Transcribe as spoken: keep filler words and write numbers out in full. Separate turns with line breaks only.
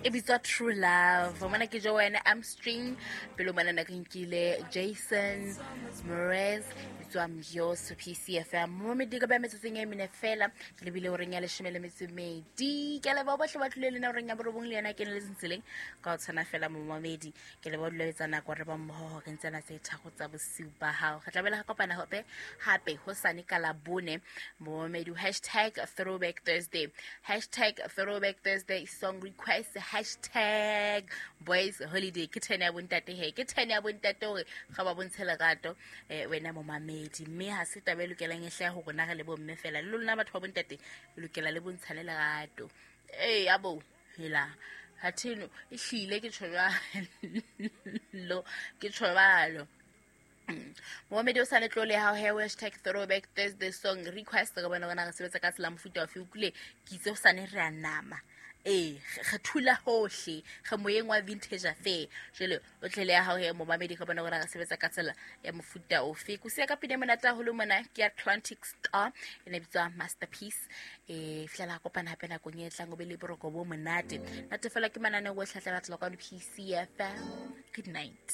E bitswa True Love. Mona ke Joanne Armstrong, pele mona na ke nkile Jason Mraz, bitswa Mjos P C F M. Momedi ka ba metsotsong e mene fela, ke lebile horeng ya leshome le metso e medi. Ke a leboha bohle ba tlileng le nna horeng ya borobong le yena ke ne le tseleng ka ho tshwana fela momamedi. Ke leboha dula etsa nako re ba mmoho horeng tsena tse tharo tsa bosiu ba hao. Re tla bela re kopana hape hape hosane ka Labone. Momamedi, hashtag Throwback Thursday, hashtag Throwback Thursday song request, hashtag Boys Holiday. Ke ten ya bontate he, ke ten ya bontate hore ga ba bontshe lerato, eh, wena momamedi. Mme ha se taba e lokelang e hlahe ho rona re le bomme fela, le lona batho ba bontate le lokela le bontshane lerato. Ee, abo hela ha theno e hlile ke tjho jwalo, ke tjho jwalo. Momamedi o sa le tlole ha he hashtag Throwback Thursday song request. Re bona rona re sebetsa ka tsela mofuta ofe. Utlwile ke itse ho sane re a nama. Ee, re thula hohle, re moyeng wa vintage affair. Jwale o tlele ya hao he momamedi, re bona rona re sebetsa ka tsela ya mofuta ofe. Ko siya ka pina e monate haholo mona, ke ya Atlantic Star, e ne bitswa Masterpiece. Eh, fihlela kopana hape nakong e tlang, o be le boroko bo monate. Nate fela ke mananeo ohle a tla batla kwano P C F M. Good night.